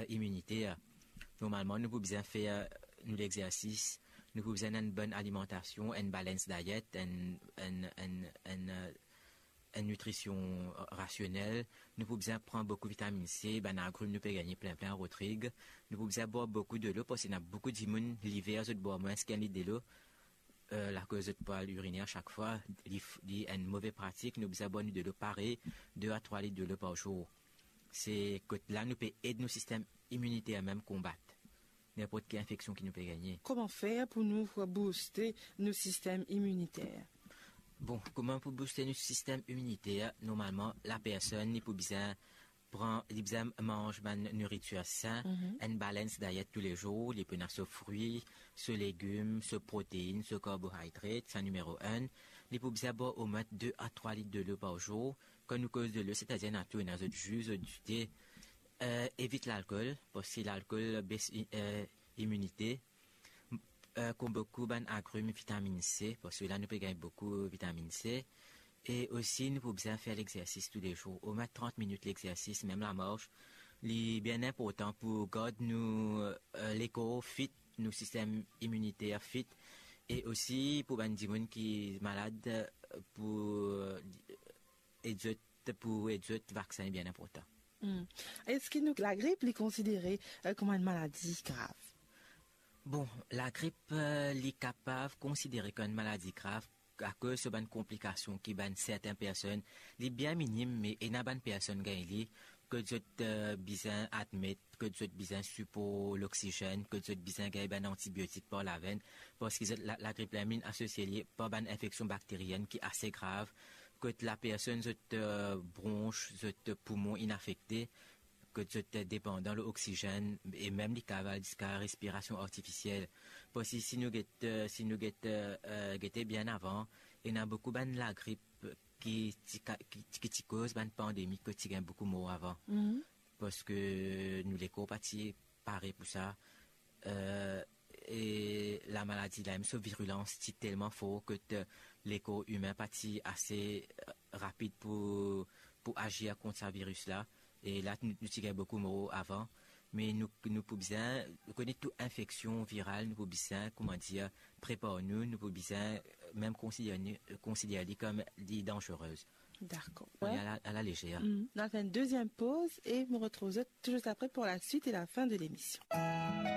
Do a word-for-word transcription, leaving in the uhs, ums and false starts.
iminiter. Normalman, nou pou bizin fer nou lexersis, nou pou bizin enn bonn alimantasion, enn balance diet, enn, enn, enn, enn, eh, enn nitrision rasionel. Nou pou bizin pran boukou vitamin C, bann agrim nou pe gagne plin, plin Rodrig. Nou pou bizin bwar boukou delo, parski ena boukou dimoun, liver, zot bwar mwins ki enn lit delo, eh, lakoz zot pou al irine a sak fwa, li f-, li enn move pratik. Nou bizin bwar nou delo parey, de a trwa lit delo par zour. Se kot la nou pe ed nou sistem iminiter mem konbat ninport ki infeksion ki nou pe gagne. Kouma fer pou nou bouste nou sistem iminiter? Bon, kouma pou bouste nou sistem iminiter? Normalman, lapersonn, li pou bizin pran, li bizin manz bann nouritir sin, Mhm. enn balance diet toulezour, li pou ena so frwi, so legim, so protein, so karbohidrat, sa nimero enn. Li pou bizin bwar omwin de a trwa lit delo par zour. Kan nou koz delo, setadir ena tou, ena zot zi, zot dite. Eh, evit lalkol, parski lalkol bes i-, eh, iminite. M-, eh, kouma boukou bann agrim, vitamin C, parski la nou pe gagn boukou vitamin C. E osi, nou pou bizin fer lexersis toulezour, omwin trant minit lexersis, mem lamars. Li bien inportan pou gard nou, eh, lekor fit, nou sistem iminiter fit. E osi, pou bann dimoun ki malad, eh, pou, eh, ed zot, pou ed zot, vaksin bien inportan. Hmm. Eski nou, lagrip, li konsidere, eh, kouma enn maladi grav? Bon, lagrip, eh, li kapav konsidere kouma enn maladi grav akoz so bann konplikasion ki bann sertin personn, li bien minim, me ena bann personn gagn li, kot zot, eh, bizin admet, kot zot bizin sipor loksizenn, kot zot bizin gagn bann antibiotik par lavenn, parski zot la, lagrip la inn asosie li par bann infeksion bakterienn ki ase grav, kot lapersonn zot, eh, brons, zot poumon inn afekte, kot zot depandan lor oksizenn, e mem li kapav al ziska respirasion artifisiel. Parski si nou get, eh, si nou get, eh, eh, gete bien avan, ena boukou bann lagrip ki ti ka-, ki, ki ti koz bann pandemi kot ti gagn boukou mor avan. Mhm. Parski nou lekor pa ti pare pou sa. Eh, e lamaladi la mem, so virilans ti telman for kot, eh, lekor imin pa ti ase, eh, rapid pou, pou azir kont sa viris la. E la, nou, nou ti gagn boukou mor avan. Me nou, nou pou bizin, nou kone tou infeksion viral, nou pou bizin, kouma dir, prepar nou, nou pou bizin, eh, mem konsider ni-, konsider li kom li danzere. Dakor. Pran li a la, a la lezer. Mm. Nou al fer enn deziem poz e mo retrouv zot tou zis apre pou la swit e la fin de lemision.